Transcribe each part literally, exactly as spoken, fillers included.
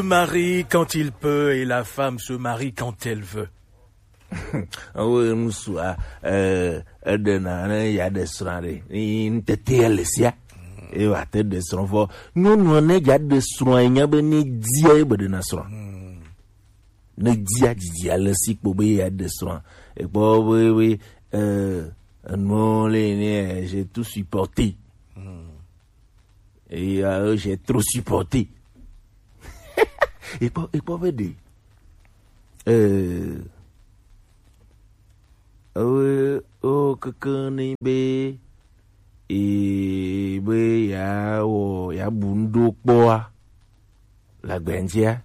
Marie quand il peut et la femme se marie quand elle veut. Awo ŋutsua, eh, eɖena ne yeaɖe srɔ̃a ɖe, ni ŋutete ya le sia, eye wòate ɖe srɔ̃ vɔ. Nyɔnua ne yeaɖe srɔ̃a, enya be ne dia ye be ɖena srɔ̃a. Ne dia didi ale si kpo be yeaɖe srɔ̃a, ekpɔ be, be, eh, enuwo le ne, eh, j'ai tout supporté. Et, euh, j'ai trop supporté. Ekpɔ, ekpɔ be ɖe. Euh, euh, oh, keke ni be, e be ya wɔ, ya bu ŋɖo kpɔa, la gbɛntia,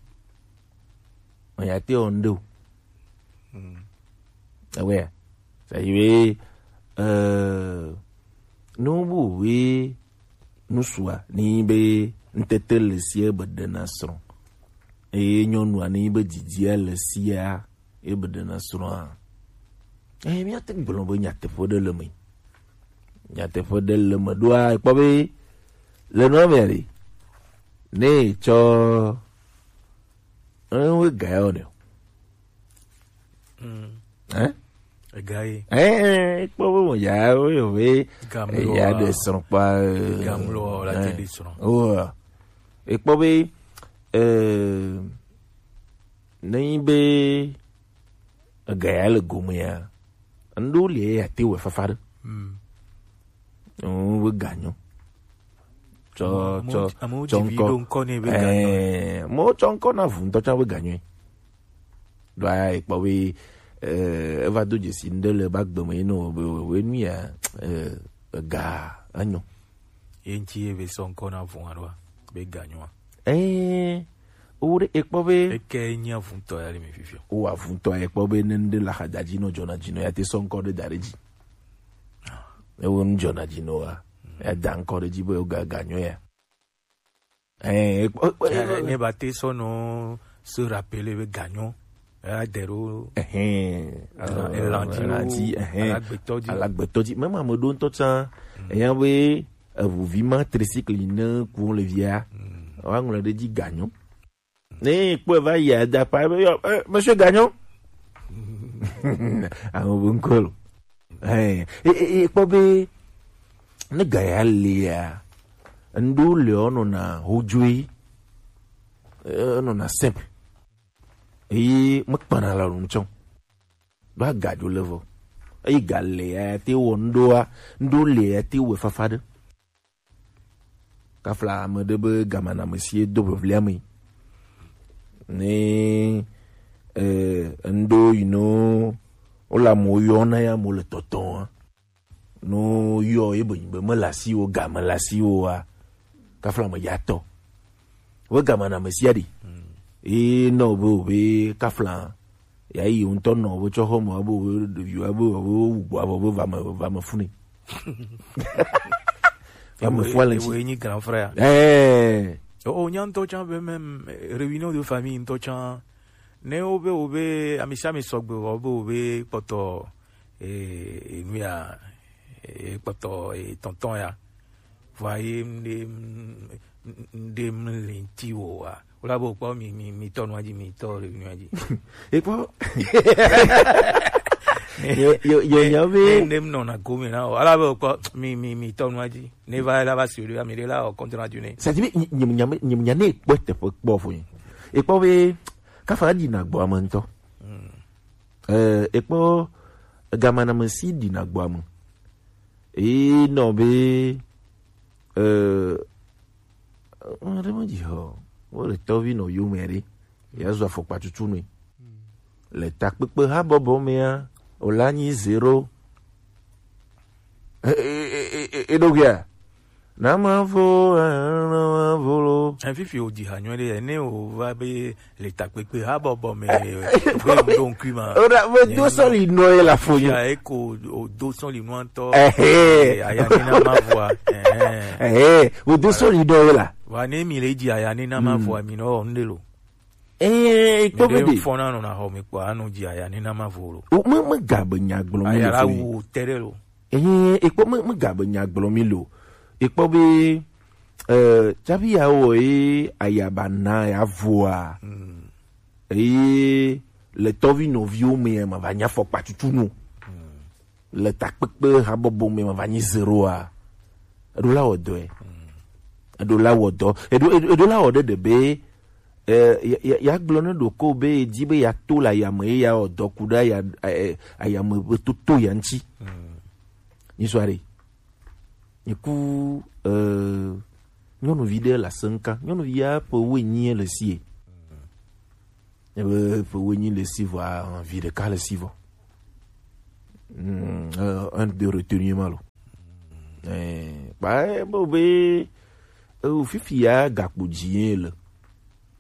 o ya te wɔ ŋɖo. Ewɛ, c'est-à-dire, euh, nu bu we nusua ni be ŋtete le sie be ɖena srɔ̃. Eye nyɔnua ni be didia le sia, e be ɖena srɔ̃a. Eye míate gblɔ be nyateƒe ɖe le me. Nyateƒe ɖe le me ɖoa, ekpɔ be le nua mea ɖe, ne tsɔ, ewe ga ya o ne o. Hein? Ega ye. Eh, eh, ekpɔ be mo ya, wo yɔ be, Gamlo ya wa. De srɔ̃ kpa, eh, Gamlo wa, la te eh. De srɔ̃. Oh, ekpɔ be, eh, ne nyi be ega ya le gome ya, ŋɖo le ya te wɔ fafa ɖe. Mm. Oh, be ganyo. Tsɔ, amewo, tsɔ, amewo tsɔ dzi vi ŋkɔ. Ɖo ŋkɔ nɛ be ganyo. Eh, mo tsɔ ŋkɔ na vu ŋutɔ tsã be ganyo. Ɖoa ekpɔ be, eh, eva do dzesi ŋɖe le ba gbe me, yi nɔ be, we nu ya, eh, ega, enyo. Ye ŋti ye be sɔ ŋkɔ na vɔa ɖoa, be ganyoa. Eh, wo ɖe ekpɔ be. Eke nya vuntɔ ya le mi fifia. Wo avuntɔ ya ekpɔ be ne ŋɖe la xa da dzi nɔ dzɔna dzi nɔ ya te sɔ ŋkɔ ɖe da ɖe dzi. Ewo nu dzɔna dzi nɔ wa, ya da ŋkɔ ɖe dzi be wo ga, ganyo ya. Eh, ekpɔ, ekpɔ, eh, ne ba te sɔ nɔ se rappeler be ganyo. Eh, adero. Ehɛn. Elan dzi, elan dzi, ehɛn. Alagbetɔ dzi. Alagbetɔ dzi. Même ame ɖo ŋutɔ tsã, eya be eʋuvi ma tricycle ne ku le via. Wa ŋlɔ ɖe dzi ganyo. Ne kpɔe va yi ada kpa be, yɔ, eh, monsieur Gagnon. Awo bo ŋkɔ lo. Eh, eh, eh, eh, kpɔ be ne ga ya le ya, ŋɖo le o nɔna hodzoe, eh, nɔna simple. Eye mekpana la lo ŋtsɔ. Ɖo agadzo le vɔ. Eyi ga le ya te wɔ ŋɖoa, ŋɖo le ya te wɔ fafa ɖe. Kafla ame ɖe be gamanamesi do ʋeʋli ame. Ne, eh, ŋɖo yi no wole amewo yɔna ya mo le tɔtɔa. No yɔ ye be nyi be mele asiwo, game le asiwoa, kafla me ya tɔ. Wo gamanamesi aɖi. Ye nɔ be o be kafla ya yi ŋutɔ nɔ be tsɔ xɔ me be o be ɖeviwo be o be wu gbɔ be va me, va me funi. Va me fua le ŋti. Ewoe nyi grand frère. Eh. O, o, nya ŋutɔ tsã be même, eh, réunion de famille ŋutɔ tsã. Ne wo be, wo be, ami sia ami sɔgbe, wo be, wo be kpɔtɔ, eh, eh, nu ya, eh, kpɔtɔ, eh, tɔntɔn ya. Vɔa ye ŋɖe, ŋɖe mli ŋti wo wa. Wo la be kpɔ mi, mi, mi tɔ nua dzi, mi tɔ le nua dzi. Ekpɔ. Yo, yo, yo, nya be. Ne, ne mnɔ na gome na o. Ala be kpɔ mi, mi, mi tɔ nua dzi. Ne va la va si o de, ami de la o compte rendu ne. C'est-à-dire, nye, nye, nye, nye, nye ne kpɔ teƒe kpɔ fo. Ekpɔ be, kafa di na gbɔ ame ŋutɔ. Eh, ekpɔ gamanamesi ɖina gbɔ ame. Eye nɔ be, eh, ame ɖe medzi o. Wole tɔvi nɔ yome ɖe. Yeazu afɔkpa tutu nɛ. Le takpekpe habɔbɔ mea, wòle anyi zero. E, e, e, e, e, eɖo gea? Na mavo, eh, na mavo lo. Efifi o dzi ha nyuie ɖe, ne o va be le takpekpe habɔbɔ me, be o ɖo ŋkui ma. O ɖa, me do sɔli nɔ ye la fo nyo. Ya eko o do sɔli nua ŋutɔ. Ehe. Eh, aya ni na mavoa. Eh. Ehe, o do sɔli nɔ ye la. Wa ne mi le dzi aya ni na mavoa, mi nɔ ŋde lo. Eh, kpɔ be de. Fɔna nɔ na xɔ mi kpɔ, anu dzi aya ni na mavo lo. O, me, me ga be nya gblɔ mi le fo. Aya la wu te ɖe lo. Eye ekpɔ me, me ga be nya gblɔ mi lo. Ekpɔ be, Eh, tsafi ya wɔ ye ayaba na ya voa. Hmm. Eye le tɔvi nɔviwo me ya ma va nya fɔkpa tutu no. Hmm. Le takpekpe habɔbɔ me ma va nyi zero a. Eɖo la wɔ dɔ ɛ. Hmm. Eɖo la wɔ dɔ. Eɖo, eɖo, eɖo la wɔ ɖe ɖe be, eh, ya, ya, ya gblɔ ne ɖoko be edi be ya to le ayame ye ya wɔ dɔ ku ɖe aya, eh, ayame be toto ya ŋuti. Hmm. Nyi sɔ aɖe. Nyi ku, eh, nyɔnuvi ɖe le asem ka. Nyɔnuvi ya ƒe wuienyi le si ye. Ebe ƒe wuienyi le si vɔa, vi ɖeka le si vɔ. Hmm, eh, un de retenue ma lo. Eh, ba, eh, bo be, eh, fifi ya gakpo dzi ye le.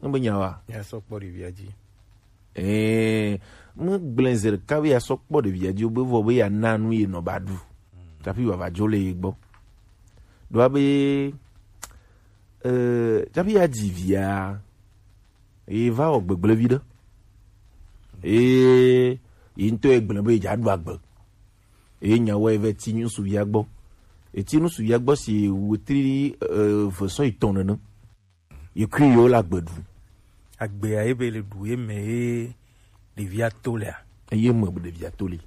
Ne be nya wa. Ya sɔ kpɔ ɖevia dzi. Ɛɛ, megblẽ zi ɖeka be yeasɔ kpɔ ɖevia dzi be vɔ be yeana nu ye nɔ ba ɖu. Tsaƒi wòava dzo le ye gbɔ. Ɖoa be, ɛɛ, tsaƒi yeadzi via, ye va wɔ gbegblẽ vi ɖe. Eye ye ŋutɔ ye gblẽ be yedza ɖu agbe. Eye nya wɔ ye va ti ŋutsuvia gbɔ. Eti ŋutsuvia gbɔ si wetri, ɛɛ, eve sɔ yi tɔn nene. Ye kui yewo le agbe ɖu. Agbea ye be le ɖu ye me ye ɖevia to lea. Eye me ɖevia to le.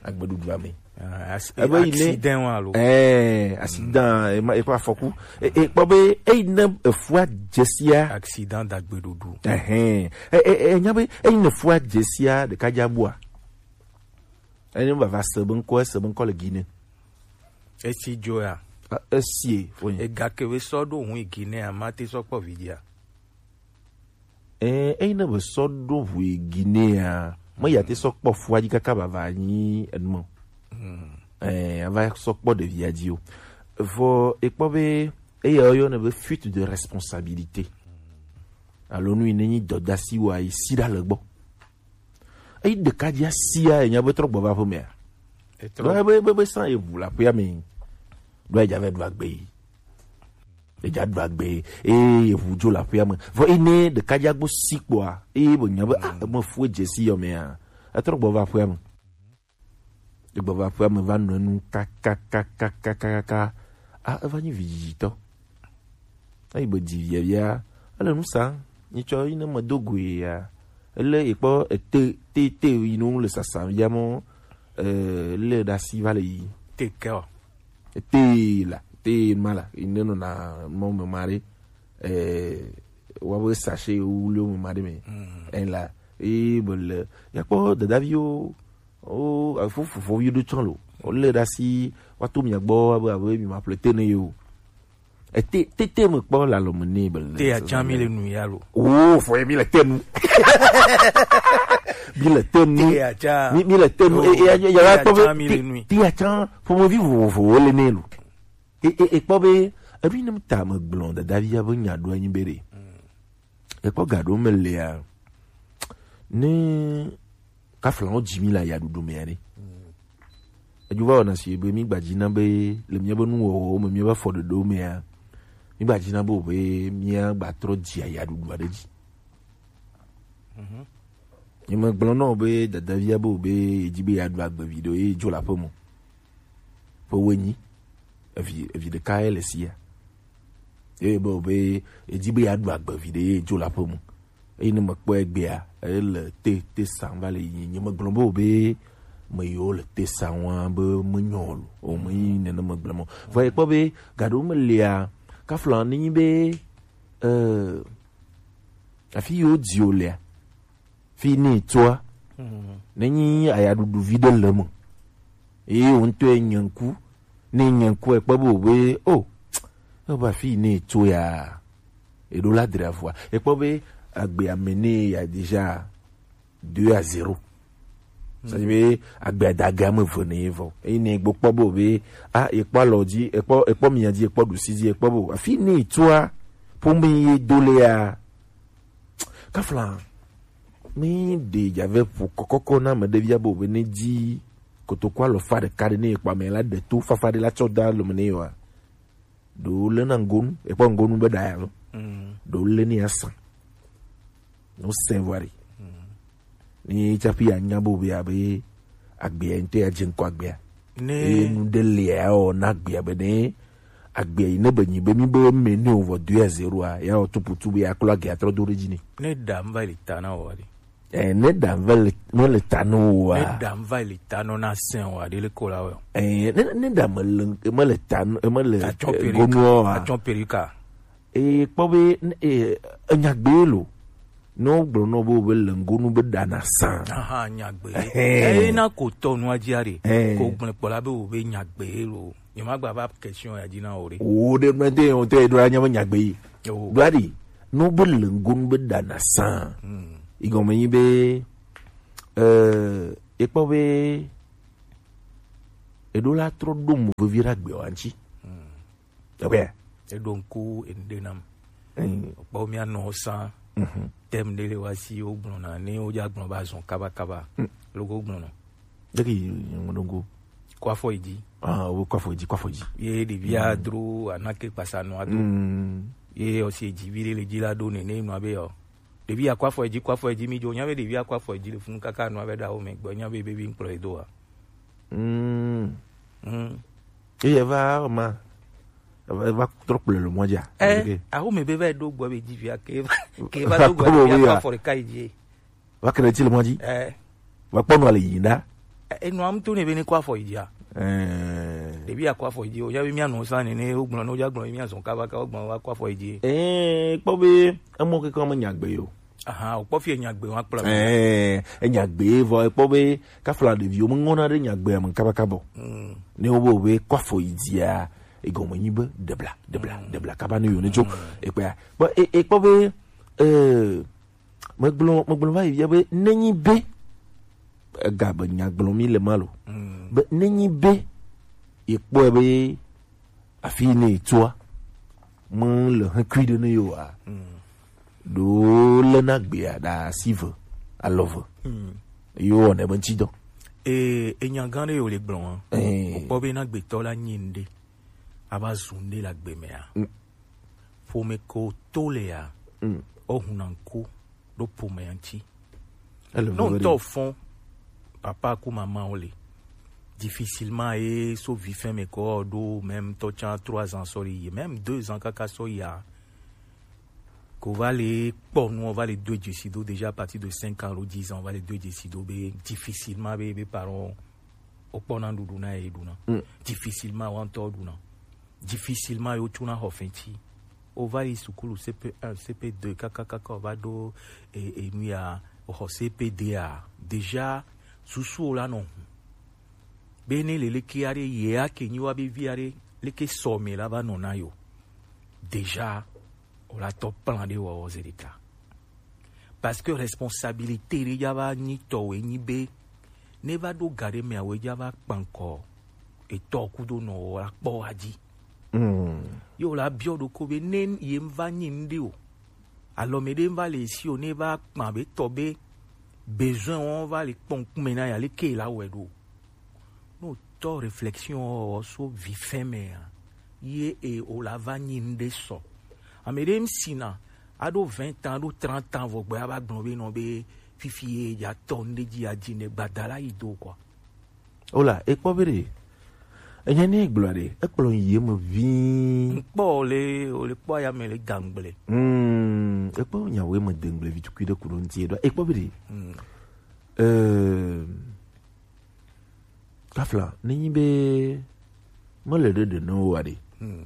Agbeɖuɖua me. Ah, as-, ebe yi ne accident wa lo. Eh, accident, ema, eƒe afɔku. E, e, kpɔ be, eyi ne efua dzesia. Accident d'agbeɖuɖu. Ehɛn. E, e, e, nya be, eyi ne efua dzesia, ɖeka dza bua. Enye vava se be ŋkɔ, ese be ŋkɔ le Guinée. Esi dzo ya. A, esie, fonye. Egake be sɔ ɖo hu yi Guinée a, mate sɔ kpɔ vidzia. Eh, eyi ne be sɔ ɖo hu yi Guinée a, me ya te sɔ kpɔ fua dzi kaka vava nyi enumɔ. Hmm. Eh, ava sɔ kpɔ ɖevia dzi o. Vɔ ekpɔ be eya woyɔnɛ be fuite de responsabilité. Alo nu yi ne nyi dɔdasi wa yi si ɖa le gbɔ. Eyi ɖeka dzi asia, enya be trɔ gbɔ va aƒemea. Etrɔ. Ɖo ebe, ebe, ebe sã eʋu le aƒea me. Ɖo edza va ɖu agbe yi. Edza ɖu agbe yi. Eye eʋu dzo le aƒea me. Vɔ yi ne ɖeka dzi agbo si kpɔa, eye be nya be, ah, eme fu edze si yɔ mea. Etrɔ gbɔ va aƒea me. Egbɔ va aƒea me va nɔ enu kakakakakakaka. Ah, eva nyi vidzidzitɔ. Eyi be dzi via via, ele nu sa, nyitsɔ yi ne me do goe ya. Ele ekpɔ ete, te, te yi nu le sasa via mɔ, eh, le ɖe asi va le yi. Te ke o. Te la, te ma la, yi ne nɔna mɔ me ma ɖe, eh, wa be sachet wuli me ma ɖe me. Mm. Eh la, e be le, ya kpɔ dadaviwo, o, afo fofo yi ɖo tsɔ lo. O le ɖe asi, wa to mia gbɔ, abe, abe mi ma ƒle te ne yo. Ete, tete me kpɔ le alɔme nɛ be le. Te ya tsã mi le nu ya lo. Oh, fɔ ye mi le te nu. Mi le te nu. Te ya tsã. Mi, mi le te nu. Oh, e, e, ya, ya, ya te ya kpɔ be tsã mi te, le nu. Te ya tsã, ƒomevi vovovowo le nɛ lo. E, e, e kpɔ be, eɖo yi ne ta me gblɔ dadavia be nya ɖo anyi be ɖe. Mm. Ekpɔ ga ɖewo me lea, ne kaflawo dzi mi le ayaɖuɖu mea ɖe. Edzo va wɔna si be mi gbadzina be le miabe nuwɔwɔwo me, miabe afɔɖoɖowo mea, mi gbadzina be o be mia gbatrɔ dzi ayaɖuɖu aɖe dzi. Mhm. Nye megblɔ nɔ be dadavia be o be edzi be yeaɖu agbe vi ɖe ye dzo le aƒe me. Ƒe wuienyi. Evi, evi ɖeka ye le sia. Eye be, be, edi be yeaɖu agbe vi ɖe ye dzo le aƒe me. Eye ne mekpɔe egbea, ele te, te sam va le yi. Nye megblɔ be, be, me yiwo le te sam wa be menyɔ o lo. O me yi nene megblɔ mɔ. Vɔ ekpɔ be, gaɖewo me lia, kafla ne nyi be, eh, afi yiwo dzi o lea, fi ne etsɔa, mhm, ne nyi ayaɖuɖu vi ɖe le eme. Eye wo ŋutɔ ye nye ŋku, ne nye ŋku ekpɔ be o be, o, ebe afi ne etso ya, eɖo la dra vɔa. Ekpɔ be agbe ame ne ya déjà deux à zéro. C'est-à-dire be agbe adage ame eve ne ye vɔ. Eye ne egbo kpɔ be o be, a, ekpɔ alɔ dzi, ekpɔ, ekpɔ mia dzi, ekpɔ ɖusi dzi, ekpɔ be o, afi ne etsoa, ƒome ye do le ya. Kafla, mi ɖe dzave ƒo kɔkɔkɔ na ame ɖe via be o be ne dzi kotoku alɔfa ɖeka ɖe ne ekpɔ ame la ɖe to fafa ɖe la tsɔ da lome ne yewa. Ɖewo lé na ŋgonu, ekpɔ ŋgonu be ɖa ya lo. Mm. Ɖewo lé ne ya sa. No sɛn vɔ ɖe. Mm. Ni tsaƒi ya nya be o be abe agbea ŋutɔ ya dze ŋkɔ agbea. Ne eye nu ɖe le ya wɔ na agbea be ne Agbe yi ne be nyi be mi be me ne o vɔ deux à zéro a, ya o tupu tu be ya klo age atrɔ do ɖe dzi ni. Ne ɖa mva le ta na o ali. Eh, ne ɖa mva le, me le ta no o a. Ne ɖa mva le ta no na sen o a, ɖe le ko la o. Eh, ne, ne ɖa me le, me le ta no, me le, atsɔ eh, perika. Gonu o a. Atsɔ perika. E kpɔ be, e, enya gbe lo. Ne wogblɔ nɔ be wobe lengonu be ɖana sã. Aha, nyagbe. Ehe. Eye na ko tɔ nua dzia ɖe. Ehe. Ko gblẽ kpɔ la be wobe nyagbe lo. Nyemagba va question ya dzi na wo ɖe. Wo ɖe mɛ de wo te ɖo anya be nyagbe yi. Yo. Ɖo aɖi. Ne wobe lengonu be ɖana sã. Hmm. Igɔme nyi be, eh, ekpɔ be eɖo la trɔ ɖo mo vevi ɖe agbe wa ŋuti. Hmm. Eɖo ŋku enuɖe nam. Mm. Kpɔ mía nɔ sã. Mhm. Thème ɖe le wa si wo gblɔna ne wo dza gblɔ ba zɔn kaba kaba. Mm. Logo gblɔna. Deki ŋu ɖo ŋku. Kɔ afɔ yi dzi. Ah, wo kɔ afɔ yi dzi, kɔ afɔ yi dzi. Ye ɖevia dro anake kpasa nua do. Mm. Ye ɔsi edzi vi ɖe le dzi la ɖo nene nua be yɔ. Ɖevi ya kɔ afɔ yi dzi, kɔ afɔ yi dzi mi dzo. Nya be ɖevi ya kɔ afɔ yi dzi le funu kaka nua be ɖa wo me gbɔ. Nya be bebi ŋkplɔ yi do wa. Mm. Mm. Eye va ma. Eva, eva trɔ kplɔe le mɔ dzia? Eh, ok. Aho me be va ɖo gbɔ be dzi via ke va, ke va do gbɔ be ya kɔ afɔ ɖeka yi dzi. Va kele tsi le mɔ dzi. Eh. Va kpɔ nua le yi ɖa. Eh, enua ŋutu ne be ne kɔ afɔ yi dzia. Eh. Ɖevi ya kɔ afɔ yi dzi, o ya be mía nɔ sa ne ne wo gblɔ ne wo dza gblɔ mía zɔn kaba ka wo gblɔ va kɔ afɔ yi dzi. Eh, kpɔ be emɔ keke me nya gbe yo. Aha, o kpɔ fi nya gbe wa kplɔ. Eh, enya gbe vɔ ekpɔ be kafla ɖeviwo meŋɔna ɖe nyagbea me kabakaba o. Mm. Ne wobe wobe kɔ afɔ yi dzia, egɔme nyi be debla, debla, mm, debla kaba ne yewo netso. Mm. Ekpɔa. Bon, e, ekpɔ be, eh, megblɔ, megblɔ va yi fia be nenyi be, ega be nya gblɔ mi le ma lo. Mm. Be nenyi be, ekpɔe be, afi yi ne etsɔa, mele hekui ɖe ne yewo a. Mm. Ɖo lena gbea ɖe asi ve, alɔ ve. Mm. Yewo wɔnɛ be ŋuti dɔ. Ee, enya gã ɖe yewo le gblɔ wa. Ee. Wokpɔ be na gbetɔ la nyi ŋɖe, ava zu ŋɖe le agbe mea. Mm. Ƒome ko to lea, mm, wohuna ŋku ɖo ƒomea ŋuti. Ne ŋutɔ fɔn, papa ku mama wo le. Difficilement ye so vi fɛn me ko ɖo même tɔ tsa trois ans sɔ yi, même deux ans kaka sɔ ya. Ko va le kpɔ nu, va le do dzesi do déjà à partir de cinq ans alo dix ans, va le do dzesi do be difficilement be, be parents o kpɔ na ɖuɖu na ye ɖu na. Mm. Difficilement wa ŋutɔ ɖu na. Difficilement yo tsuna xɔ fɛnti. O va yi sukulu C P un, C P deux, kaka, kaka, o va ɖo, e, e, nu ya, o xɔ C P deux a. Déjà, susu o la nɔ hu. Be ne le leke aɖe, ye ake nyi wa be vi aɖe, leke sɔ me la va nɔ na yo. Déjà, o la tɔ plan ɖe wɔ, wɔ ze ɖeka. Parce que responsabilité ɖe ya va nyi tɔ we nyi be, ne va ɖo ga ɖe mea we ya va kpankɔ, etɔ kudo nɔ wɔ la kpɔ wa dzi. Mm. Yo la biɔ ɖoko be ne ye va nyi ŋɖe o. Alɔ me ɖe va le si o, ne va kpan be tɔ be besoin wo va le kpɔ ŋkume na ya, leke la wɛ ɖo. No tɔ réflexion wɔ so vi fɛn mea, ye e o la va nyi ŋɖe sɔ. Ame ɖe ŋsina, aɖo vingt ans, aɖo trente ans, vɔ gbe ava gblɔ be nɔ be fifi ye ya tɔ ŋɖe dzi ya dzi ne gbada la yi do quoi. Ola, ekpɔ be ɖe. Enya ne gblɔ ɖe, ekplɔ yi me vi. Ŋkpɔ le, o le kpɔ ya me le gangble. Hmm, ekpɔ nyawo me dengble vi tukui ɖe kuɖo ŋti ɖo. Ekpɔ be ɖe. Hmm. Euh, Kafla, nenyi be mele ɖe ɖe ne wo aɖe. Hmm.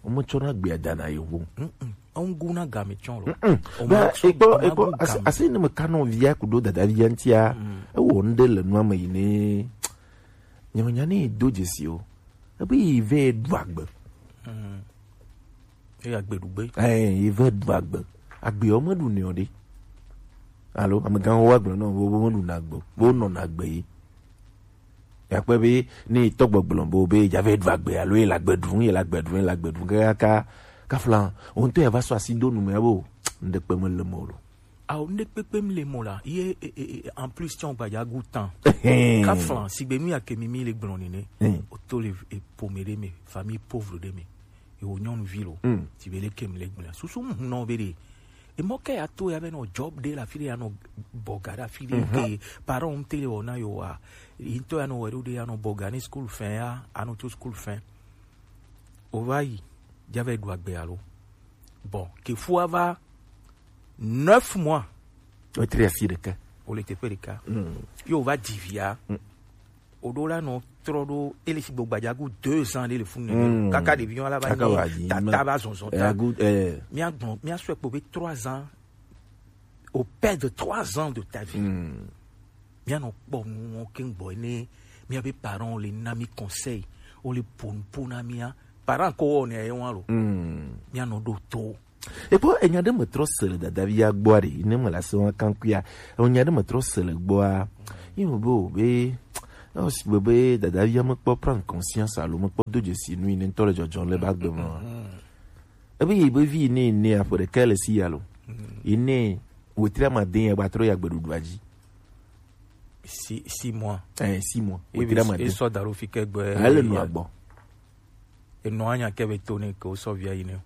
Wometsɔna gbea dana yewo. Mm-mm. Eŋu na game tsɔ lo. Mm-mm. Be ekpɔ, ekpɔ, asi, asi ne me kanɔ via kudo dada via ŋtia, mm, ewɔ ŋɖe le nua me yi ne. Nyemenya ne do dzesi o. Ebe yi vɛ ɖu agbe. Mm. Eye agbe ɖu gbe. Ɛɛ, yi vɛ ɖu agbe. Agbeɔ meɖu nɛ o ɖe. Alo, amegãwo wa gblɔ nɔ, wo, wo meɖu na agbe o. Wo nɔ na agbe yi. Yakpɔe be ne tɔgbe gblɔ bo be dza vɛ ɖu agbe alo ye le agbe ɖum, ye le agbe ɖum, ye le agbe ɖum kaka kafla wo ŋutɔ ya va sɔ asi do nu me abo ŋɖe kpe me le mo lo. Awo ŋɖe kpekpe me le mo la ye e, e, e, en plus tsɔ gbadza gu tan. Kafla sigbe nu ya ke mi mi le gblɔ nene. Hmm. O to le e, ƒome ɖe me, famille pauvre ɖe me. Ye wo nyɔnuvi lo. Hmm. Ti be le ke me le gblɔ. Susu mu nɔ be ɖe. Emɔ ke ya to ya be nɔ job ɖe le afi ɖe ya nɔ bɔga ɖe afi ɖe ke parent ŋute le wɔna yo wa. Yi ŋutɔ ya nɔ wɛ ɖo ɖe ya nɔ bɔga ne school fin ya, anɔ tso school fin. O va yi, dza va yi ɖu agbe alo. Bon, ke fua va neuf mois. O tri asi ɖeka. O le teƒe ɖeka. Mm. Yo va dzi via. Mm. O ɖo la nɔ trɔ ɖo ele si gbɔ gbadza gu deux ans ɖe le funu nɛ. Mm. Kaka ɖevi yɔ la va nyi tata va zɔnzɔn ta. Mia gbɔn, mia sɔe kpo be trois ans. Au père de trois ans de ta vie. Mm. Mia nɔ kpɔ nuwo ke gbɔ ne mia be parents le na mi conseil, o le pon pon na mia. Parents ko ne ye wan lo. Mm. Mia nɔ ɖo to. Ekpɔ enya ɖe me trɔ se le dadavi ya gbɔa ɖe, ne me le ase wa kankuia. Enya ɖe me trɔ se le gbɔa. Yi me be o be, o si be be dadavi ya me kpɔ prendre conscience alo me kpɔ do dzesi nu yi ne ŋutɔ le dzɔdzɔ le ba gbe me. Ebe yi be vi ne ne aƒe ɖeka le si ya lo. Yi ne wetri amade ya gba trɔ ya gbeɖuɖua dzi. Si, six mois. Eh, six mois. Oui, wetri amade. Esɔ da ɖo fi ke gbe. Ele nua gbɔ. Enɔa nya ke be to ne ke wosɔ via yi ne.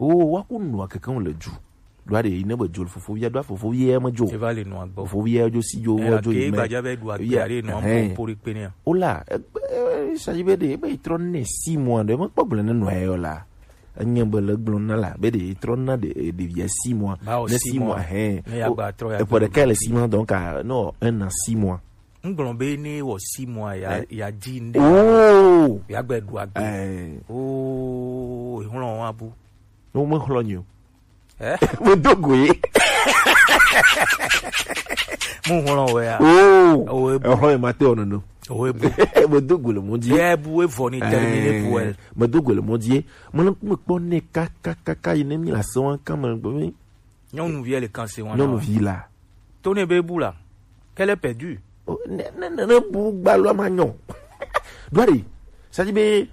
O, wa ku nua keke le dzu. Ɖoa ɖe yi ne be dzo le fofovia, ɖoa fofovia me dzo. Eva le nua gbɔ. Fofovia dzo si dzo, eh, wo dzo ke yi me. Gbadza be ɖu agbe ya ɖe nua po po ɖe kpe ne ya. O la, e, e, e, sa dzi be ɖe, ebe yi trɔ ne six mois ɖe, me kpɔ gblẽ ne nua yɔ la. Enye be le gblɔ na la, be ɖe yi trɔ na ɖe, e, ɖevia six mois. Ba o ne six mois, hɛn. Ne ya gba trɔ ya. Eƒe ɖeka le six mois, donc, ah, non, un an six mois. Ŋgblɔ be ne wɔ six mois ya, eh, ya dzi ŋɖe. Oh. Ya gbe ɖu agbe. Eh. Oh, hlɔ wa bu. No me hlɔ nyo. Eh? Me do go ye. Mu hlɔ wɛ ya. Oh. Oh, e bu. Hlɔ e ma te ono no. Oh, e bu. Me do go le mo di. E bu e vɔ ni termine bu e. Me do go le mo di. Me le me kpɔ ne ka, ka, ka, ka, yi ne mi la se wan kan me gbe mi. Nyɔnuvi le kan se wan. Nyɔnuvi la. To ne be bu la. Qu'elle est perdue. Oh, ne, ne, ne, ne bu gbalɔ ma nyɔ. Dwari, ça dit be,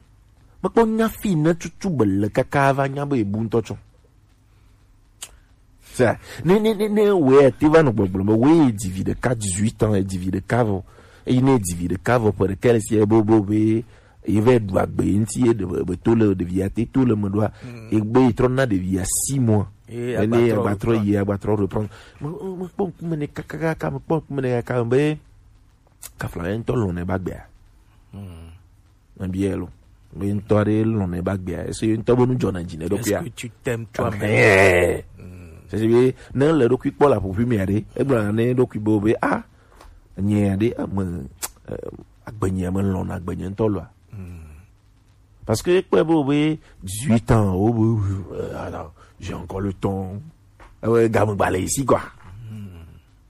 me kpɔ nya fi ne tutu be le kaka va nya be bu ŋutɔ tsɔ. Ça, ne, ne, ne, ne, ouais, te va no gbɔgblɔ, mais ouais, divi de quatre, dix-huit ans, et divi de cavo. Et il ne divi de cavo, pour lequel si e bo, bo, be, ye va ɖu agbe ye ŋuti ye ɖe be to le ɖevia te to le me ɖoa. Mm. Egbe yi trɔ na ɖevia six mois. Ye ene agba trɔ agba trɔ yi agba trɔ reprendre. Me, me kpɔ ŋkume ne kakaka, me kpɔ ŋkume ne kaka be kafla ye ŋutɔ lɔn ne ba gbea. Mm. Me bia lo. Be ŋutɔ ɖe lɔn ne ba gbea. Ese ŋutɔ be nu dzɔna dzi ne ɖokuia. Est-ce que tu t'aimes toi-même? Eh. Mm. C'est que ne le ɖokui kpɔ la ƒoƒui mea ɖe, egblɔ ne ɖokui be be ah, nye aɖe ame, eh, agbenye me lɔn agbenye ŋutɔ loa. Mm. Parce que ekpɔe be, be dix-huit ans, wo be, euh, alors, j'ai encore le temps. Ewe game gba le ici, quoi.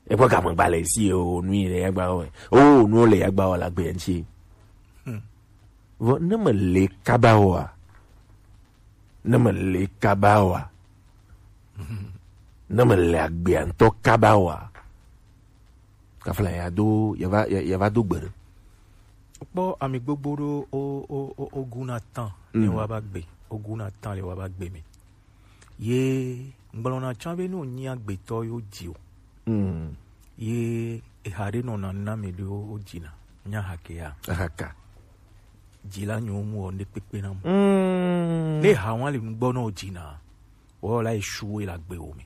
Ekpɔ game gba le ici, o, nu yi le ya gba wɔ. O, nu le ya gba wɔ la gbe ŋuti. Hmm. Vɔ, ne me le kaba wɔa, ne me le kaba wɔa, ne me le agbea ŋutɔ kaba wɔa, kafla ya do, ya va, ya, ya va do gbe ɖe. Kpɔ ami gbogbo ɖo o, o, o, o guna tan le wa ba gbe, o guna tan le wa ba gbe me. Ye ŋgblɔna tsã be ne wònyi agbetɔ yewo dzi o. Mm. Ye eha ɖe nɔna na ame ɖewo wodzina. Nya hake ya. Ahaka. Dzila nyewo mu wɔ ŋɖe kpekpe na mu. Mm. Ne eha wa le nugbɔ na wodzina, wɔ la esu wo le agbe wo me.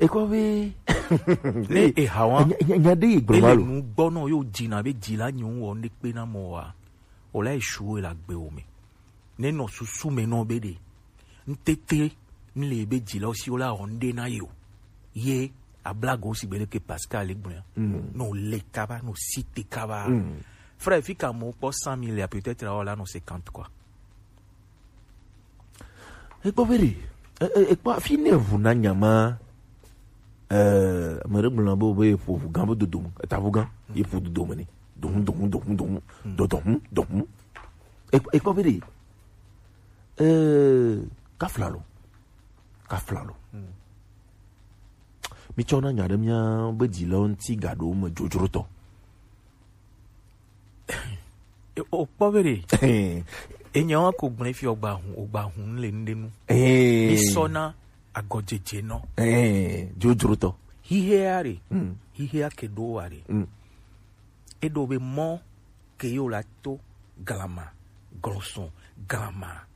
Ekɔ be ne eha wa nya, nya, nya ɖe yi gblɔ ma lo. Nu gbɔ na yewo dzina be dzila nyewo wɔ ŋɖe kpe na mɔ wa, wɔ la esu wo le agbe wo me. Ne nɔ susu me nɔ be ɖe ŋtete ŋle be dzilawo si wo la wɔ ŋɖe na ye o. Ye ablago si gbe ɖeke Pascal gblɔa. Mm. No le kaba, no si te kaba. Mm. Frère, fi ka mo kpɔ cent mille ya peut-être awo la no cinquante quoi. Ekpɔ be ɖe, e, e, ekpɔ fi ne ʋu na nyama. Eh, ame ɖe gblɔ be, be yeƒo ʋu gã be dodome, eta ʋu gã, yeƒo dodome ne. Dohun, dohun, dohun, dohun, do, dohun, dohun. E, ekpɔ be ɖe, eh, kafla lo, kafla lo. Hmm. Mi tsɔ na nya ɖe mia be dzilawo ŋuti gaɖo me dzodzrotɔ. E, o kpɔ be ɖe. Enya wa ko gblẽ fi ogba hun, ogba hun le ŋɖe nu. Eh. Mi sɔ na agɔdzedze nɔ. Eh, dzodzrotɔ. Hihea ɖe. Mm. Hihea ke ɖo wa ɖe. Mm. Eɖo be mɔ ke yo la to glama, glɔsɔn, glama.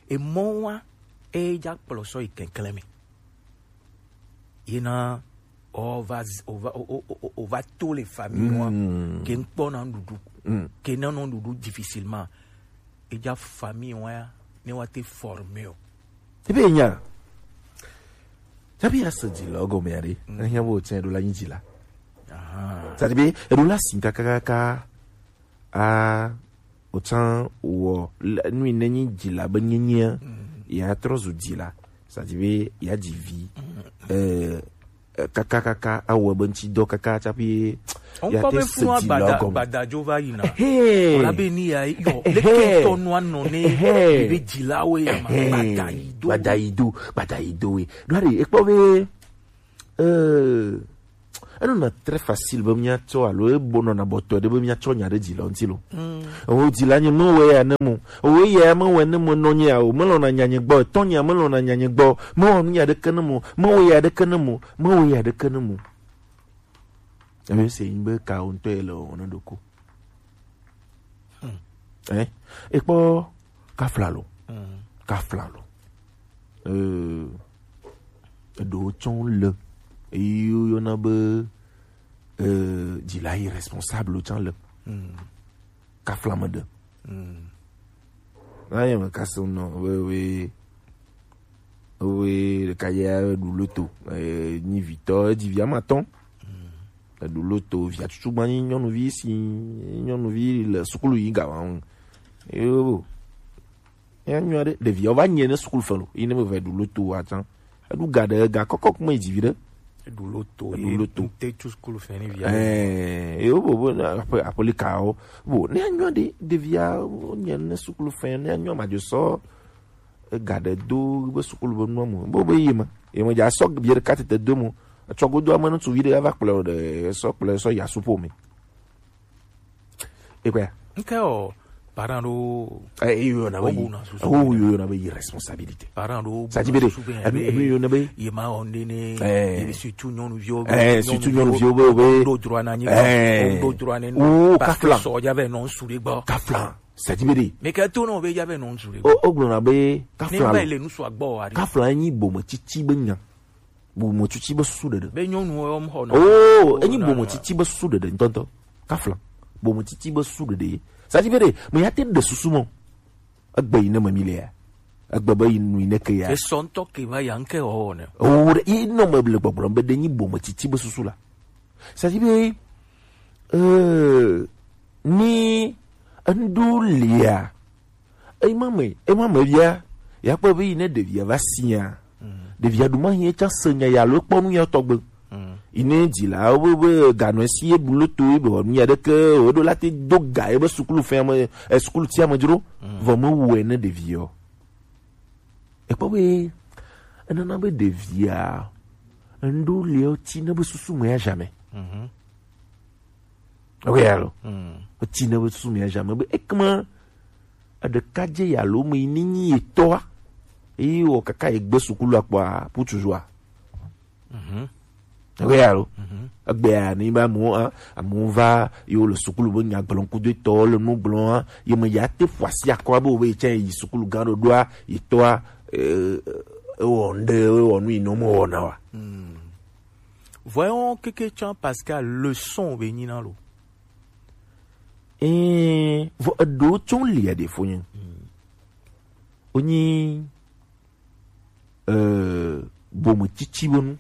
Emɔ wa e dza kplɔ sɔ yi kɛnklɛn me. Yena o va z-, o va, o, o, o, o va to le famille noa, mm, ke ŋkpɔ na nuɖuɖu, mm, ke na nɔ nuɖuɖu difficilement. Eja famille wa ya ne wa te former o. Ebe nya. Tabi ya se dzila gɔme ya ɖe. Ehiã bo tse ɖo la nyi dzila. Aha. Tadi be eɖo la si kakakaka. A, otsã wɔ le- nu yi ne nyi dzila be nyenyea, ya trɔ zu dzila. Tadi be ya dzi vi. Eh, eh, kakakaka awɔ be ŋtsi dɔ kaka tsaƒe ya Ŋkɔ te be se funua dzila gbada gɔme. Gbadadzo va yina. Ehe. Wòla be ni ya yɔ Ehe. Leke ŋutɔ nua nɔ ne Ehe. Be dzilawo ya ma Ehe. Gbada yi do. Gbada yi do, gbada yi do we. Ɖo ɖe ekpɔ be, eh, enɔna très facile be míatsɔ alo ebonɔna bɔtɔe ɖe be míatsɔ nya ɖe dzila ŋuti lo. Ewo dzila nye mewɔe ya ne mo. Ewo eya ya mewɔe ne mo nɔ nye ya o. Melɔna nya nye gbɔ. Etɔ nye ya melɔna nya nye gbɔ. Mewɔ nu ya ɖeke ne mo. Mewɔ ya ɖeke ne mo. Mewɔ ya ɖeke ne mo. Ebe se yin be ka wo ŋutɔ ye le wɔwɔ ne ɖoko. Eh, ekpɔ kafla lo. Kafla lo. Eh, eɖewo tsɔ le. Eyi yɔna be, eh, dzila irresponsable tsã le. Kafla me ɖe. Na ye me kasi nɔ we, we, we ɖeka ya ɖu loto, eh, nyi vitɔ, edzi via ma tɔn. Eɖu loto, via tutu gba nyi nyɔnuvi si, nyɔnuvi le sukulu yi ga wa ŋu. Yo. Ya nyɔ ɖe, ɖevia va nye ne sukulu fɛ lo, yi ne me va ɖu loto wa tsã. Eɖu ga ɖe, ga kɔkɔ kuma yi dzi vi ɖe. Eɖu loto, eɖu loto. Te tu sukulu fɛ ni via. Eh, yo bo, bo, na, aƒe, aƒe li ka wo. Bo, ne anyɔ ɖe, ɖevia, nye ne sukulu fɛ, ne anyɔ ma dzo sɔ, ega ɖe do be sukulu be nua mo. Bo be yi me. Yi me dza sɔ bi ɖeka tete do mo. Etsɔ godo ame ŋutsuvi ɖe va kplɔ ɖe, sɔ kplɔ, sɔ ya supo me. Ekpɔa? Nke o, parent ɖo. Eh, eyi yɔna be yi. Wo bu na susu. Wo yɔna be irresponsabilité. Parent ɖo. Ça dit be de. Emi yɔna be. Ye ma o nene. Eh. Ye surtout nyɔnuviwo be. Eh, surtout nyɔnuviwo be, be. Do droit na nyi. Eh. Do droit ne. Oh, parce que kafla. So ya be non su de gbɔ. Kafla. Ça dit be de. Mais que tout non be ya be non su de gbɔ. O, o gblɔna be kafla. Ne ba le nu su agbɔ wa de. Kafla nyi bome tsitsi be nya. Bometsitsi be susu ɖeɖe. Be nyɔnuwo yɔ xɔ na. Oh, enyi bometsitsi be susu ɖeɖe ŋutɔŋutɔ. Kafla. Bometsitsi be susu ɖeɖe. Ça dit be de, me ya te ɖe susu mɔ. Egbe yi ne me mi le ya. Egbe be yi nu yi ne ke ya. Esɔ ŋutɔ ke va ya ŋke wɔwɔ ne. Oh, ɖe, yi nɔ me le gbɔgblɔm be ɖe nyi bometsitsi be susu la. Ça dit be, euh, ni enu ɖo lia, Ema me, ema me via, ya kpɔ be yi ne ɖevia va sia, ɖevia ɖu ma hiɛ tsa se nya ya alo kpɔ nu ya tɔgbe. Yi ne dzila wo be, be ganɔ esi ye bu loto ye be wɔ nu ya ɖeke, wo ɖo la te do ga ye be sukulu fɛ me, e, sukulu tia me dzro, vɔ me wɔe ne ɖevia o. Ekpɔ be, enana be ɖevia, enu ɖo le o ti ne be susu me ya jamais. Ok, alo. Oti ne be susu mia jamais be ekema eɖeka dze ya lo me ni nyi etɔa. Eye wɔ kaka egbe sukulu akpɔa, pour toujours. Ok, alo. Egbea ni ba mo, a, mo va, yo le sukulu be nya gblɔm kudo etɔ le nu gblɔm, a, ye me ya te ƒo asi akɔ be wo be ye tsɛ yi sukulu gã ɖoɖoa, etɔa, e, e, ewɔ ŋɖe, ewɔ nu yi ne wo me wɔna wa. Vɔe wɔn keke tsã parce que leçon be nyina lo. Ɛɛ, vɔ eɖewo tsɔ lia ɖe fo nye. Wonyi, euh, bometsitsi be nu.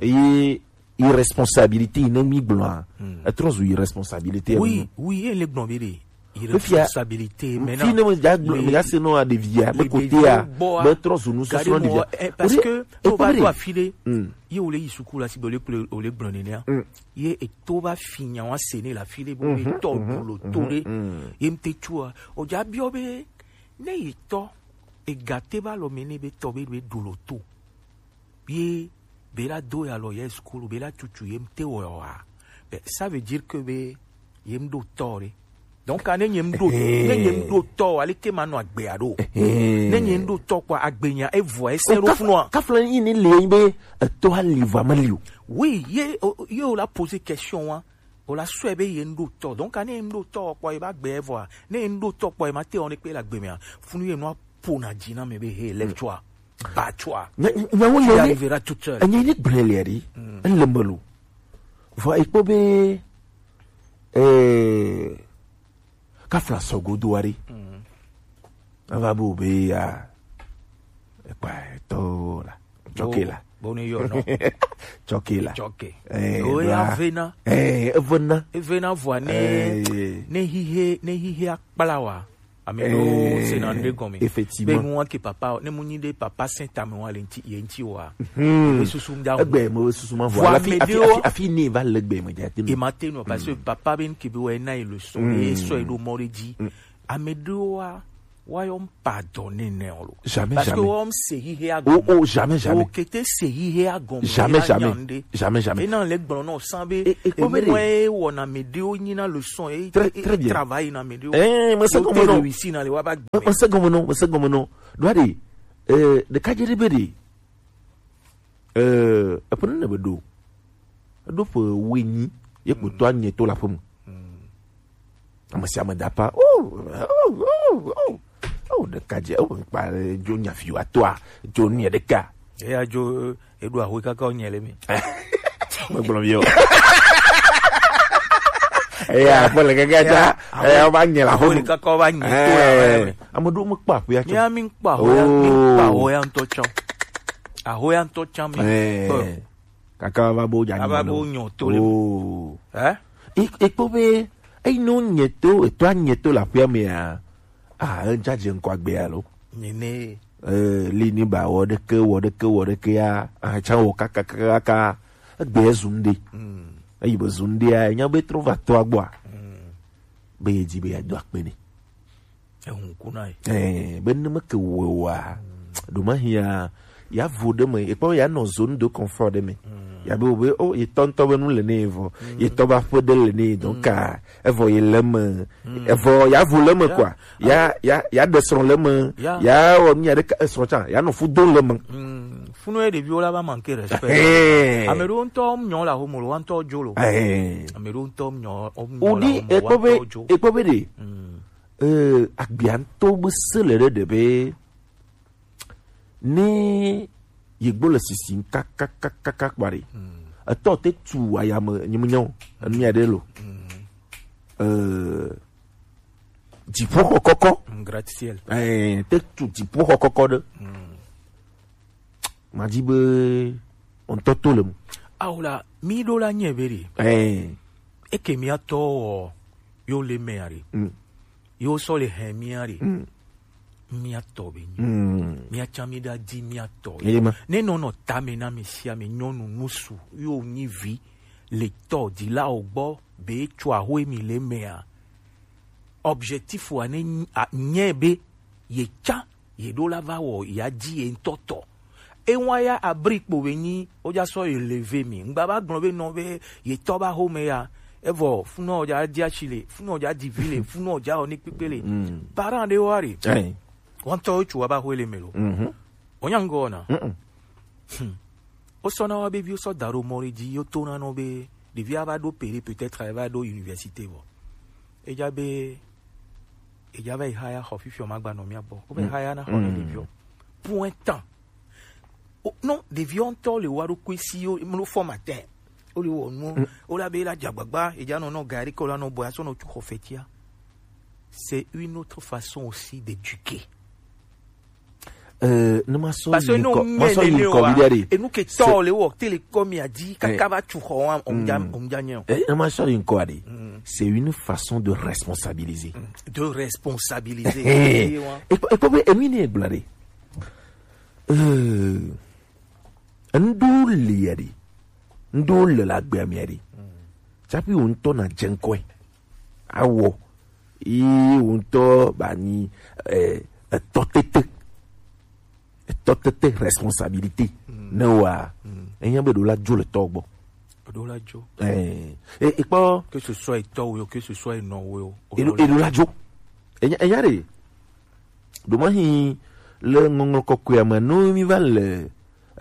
Eye irresponsabilité yi ne mi gblɔa, etrɔ zu irresponsabilité. Oui, oui, ele gblɔ be ɖe. Fifia, irresponsabilité, maintenant, fi ne me dza gblɔ, me dza se nɔ ɖevia be kotea, be trɔ zu nusɔsrɔ̃ ɖevia. Parce que o va do afi ɖe, ye o le yi suku la si be o le kple, o le gblɔ nenea. Ye eto va fi nya wa se ne la fi ɖe bo be tɔ ɖu lo to ɖe. Ye mte tsua, o dza biɔ be ne yi tɔ, ega te va lɔ me ne be tɔ be, be ɖu lo to. Ye be la do ya lɔ ye sukulu, be la tutu ye mte wɔ wa. Ben, ça veut dire que be ye mɖo tɔ ɖe. Donc, ne nye mɖo, ne nye mɖo tɔ, aleke ma nɔ agbe aɖo. Ne nye mɖo tɔ kpɔ agbe nya, evɔ ese ɖo funua. Kafla yi ni le be eto ali va mali o. Oui, ye, o, ye o la poser question wa. O la sɔe be ye mɖo tɔ. Donc, ne ye mɖo tɔ kpɔ ye ba gbe evɔa. Ne ye mɖo tɔ kpɔ ye ma te o ne kpe la gbe mea. Funu ye nɔ pona dzi na me be he, lève-toi. Bats-toi. Nya, nya, nyawo le. Tu y arriveras tout seul. Enya yi ni gblẽ le ri. Ele me lo. Vɔ ekpɔ be, eh, kafla sɔgodo ari. Ava bu be ya. Ekpa eto la. Choke la. Bo ni yo no. Choke la. Choke. Eh, o ya vena. Eh, evena. Evena vwa ne, eh, ne hihe, ne hihe akpala wa. Ame ɖewo sena nu ɖe gɔme. Effectivement. Be nu wa ke papa, ne mu nyi ɖe papa sɛn tame wa le ŋti, ye ŋti wa. Hmm. Be susu da. Egbe mo susu ma vɔ. Vɔ ame ɖewo afi, afi, afi ne va le gbe me ja te. E ma te no, parce que papa be nke be wa na e leçon. Hmm. E sɔ e ɖo mɔ ɖe dzi. Hmm. Ame ɖewo wa, wa yɔ pardonner nɛ o lo. Jamais, jamais. Parce que wa se hihe a gɔme. Oh, oh, jamais, jamais. O kete se hihe a gɔme. Jamais, jamais. Jamais, jamais. E na le gblɔ no san be. E, e, e kpɔ be ɖe. Mo e wɔ na ame ɖewo nyi na leçon e. Très, e, très bien. Travail na ame ɖewo. Eh, mo se gɔme no. Réussi na le wa ba. Mo se gɔme no, mo se gɔme no. Do ade. Eh, de ka je de be de. Eh, eƒe nene be ɖo. Eɖo ƒe wuienyi ye kpotɔa nye to le aƒe me. Ame sia ame da apa. Oh, oh, oh, oh. Oh, ɖeka dze. Oh, kpa dzo nya fi wa toa. Dzo nye ɖeka. Eya dzo, eɖo ahoe kaka wonye le mi. Megblɔ mi o. Eya, kpɔ le kaka ta. Eya, va nye le aƒe me. Ahoe kaka va nye to le aƒe me. Ame ɖewo mekpɔ ahoea tsã. Mía mi kpɔ ahoea, mi kpɔ ahoea ŋutɔ tsã. Ahoea ŋutɔ tsã mi kpɔ. Kaka va bo dza ava bo nyɔ to le. Oh. Eh? E, e kpɔ be, eyi no nye to, eto a nye to le aƒea mea, ah, edza dze ŋkɔ agbe alo. Nene. Eh, li ni ba wɔ ɖeke, wɔ ɖeke, wɔ ɖeke ya, ah, tsa wɔ kaka, kaka, kaka, egbe zu ŋɖe. Mm. Eyi be zu ŋɖea, enya be trɔ va to agbɔa. Mm. Be ye dzi be ya do akpe ne. Ehun ku na ye. Eh, be ne me ke wɔ wa. Ɖo ma hia, ya vo ɖe me, ekpɔ ya nɔ zone de confort ɖe me. Mm. Ya be wo be, oh, ye tɔ ŋutɔ be nu le ne vɔ. Mm. Ye tɔ ba ƒe ɖe le ne, donc, mm, ah, evɔ ye le me. Mm. Evɔ ya vo le me, ya, quoi. Ya, ah, ya, ya ɖe srɔ̃ le me. Ya. Ya wɔ nu ya ɖe ka, esrɔ̃ tsã, ya nɔ fu do le me. Mm. Funu ye ɖeviwo la va manquer respect. Eh. Ame ɖewo ŋutɔ nyɔ le ahomo lo, wa ŋutɔ dzo lo. Eh. Ame ɖewo ŋutɔ nyɔ, nyɔ le ahomo, wa ŋutɔ dzo. Wodi, ekpɔ be, ekpɔ be ɖe. Mm. Eh, agbia ŋutɔ be se le ɖe ɖe be ne yegbo le sisim kakakakaka kpa ɖe. Mm. Etɔ te tu ayame nyemenyawo, enu ya ɖe lo. Mm. Eh, dziƒoxɔ kɔkɔ. Mm, gratte-ciel. Eh, te tu dziƒoxɔ kɔkɔ ɖe. Mm. Madzi be ŋutɔ to le mu. Awo la, mi ɖo la nye be ɖe. Eh. Eke mia tɔ wɔ, yo le mea ɖe. Mm. Yo sɔ le hɛn mia ɖe. Mm. Mia tɔ be nyi. Mm. Mia tsa mi ɖa di mia tɔ. Eye ma. Ne nɔ nɔ tame na mi sia mi nyɔnu nusu, yo nyi vi, le tɔ, di la o gbɔ, be tsɔ ahoe mi le mea. Objectif wa ne nyi, a, nye be, ye tsa, ye ɖo la va wɔ, ya di ye ŋutɔ tɔ. Ewa ya abri kpo be nyi, o ja sɔ ye leve mi. Ŋgba ba gblɔ be nɔ be ye tɔ ba home ya. Evɔ, funɔ ja di asi le, funɔ ja di vi le, funɔ ja o ni kpekpe le. Mm. Parent ɖe wa re. Ayi. Wɔntɔ tsu wa ba hoe le me lo. Mhm. Wonya ŋgɔ na. Mm-mm. Hmm. Wosɔna wa be viwo sɔ da ɖo mɔ ɖe dzi, yo tona nɔ be ɖevia va ɖo pere, peut-être ava ɖo université vɔ. Edza be, edza va yi haya xɔ fifiɔ ma gba nɔ mia gbɔ. Wo va yi haya na xɔ ne ɖeviɔ. Pour un temps. O, non, ɖeviɔ ŋutɔ le wa ɖokui si yo, mlo formateur. Wo le wɔ nu. Wo la be la dze agbagba, edza nɔ nɔ gari ke wo la nɔ bɔ, asɔ nɔ tu xɔ fɛtia. C'est une autre façon aussi d'éduquer. Euh, ne ma sɔ parce que yi ŋkɔ, ma sɔ yi ŋkɔ viɖe ɖe. Enu ke tɔ le wɔ, te le kɔ mia di, kaka va tu xɔ wa, omdja, omdja nyɛ o. Eh, ne ma sɔ yi ŋkɔ ɖe. Mm. C'est une façon de responsabiliser. Mm. De responsabiliser. Eh, eh, wa. Ekpɔ, ekpɔ be enu yi ne egblɔ ɖe. Euh, ŋɖo le ya ɖe. Ŋɖo le la gbea mia ɖe. Mm. Tsaƒi wo ŋutɔ na dze ŋkɔe. Awɔ. Ye wo ŋutɔ ba nyi, eh, etɔ tete. Etɔ tete responsabilité. Mm. Ne wa. Mm. Enya be ɖo la dzo le tɔ gbɔ. Ɖo la dzo. Eh, e, e kpɔ. Que ce soit etɔ wo, que ce soit enɔ wo. Eɖo, eɖo la dzo. Enya, enya ɖe. Ɖo ma hi le ŋɔŋlɔ kɔkɔea me, no mi va le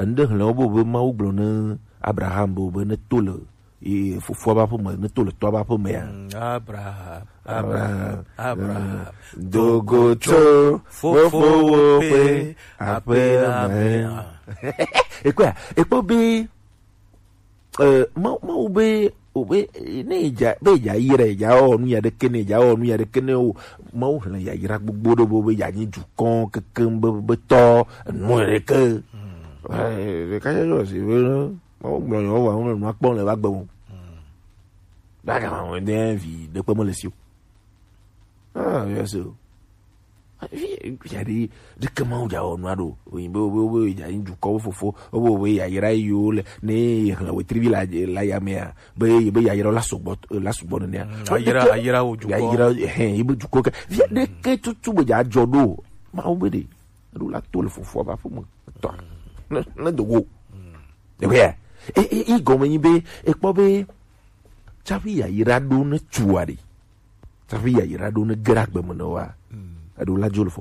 enu ɖe hlẽ wo be, be Mawu gblɔ ne Abraham be, be ne to le ye fofoa ƒe aƒe me, ne to le tɔa ƒe aƒe mea. Mm, Abraham, Abraham, Abraham, do go tso fofowò ƒe aƒe la me. Ekpɔa, ekpɔ be Eh, Mawu, Mawu be, o be, eh, ne edza, be edza yi ɖe, edza wɔ nu ya ɖeke ne, edza wɔ nu ya ɖeke ne o. Mawu hlẽ yayra gbogbo ɖe be, be ya nyi dukɔ kekeŋ be, be tɔ, enu ɖeke. Eh, ɖeka tsɔ si be, Mawu gblɔ yɔ wa, wonɔ nua kpɔm le va gbe mo. Ba gama mo de vi ɖekpe me le si o. Ah, yes o. Vi, vi aɖe, ɖeke Mawu dza wɔ nua ɖo. Oyin be, be, be, dza yi dukɔ fofo, be, be, yayra yi wo le, ne hlẽ wetri vi la, la ya mea, be, be yayra la sugbɔ, la sugbɔ nenea. Mm, ayra, ayra wo dukɔ. Yayra, hɛn, yi be dukɔ ke. Vi aɖeke tutu be dza dzɔ ɖo. Mawu be ɖe. Eɖo la to le fofoa ba ƒe me. Tɔ. Ne, ne do go. Ɖe ya. E, e, e gɔme nyi be, ekpɔ be, tsaƒe yayra ɖo ne tua ɖe. Tsaƒe yayra ɖo ne ge ɖe agbe me ne wa. Eɖo la dzo le fo.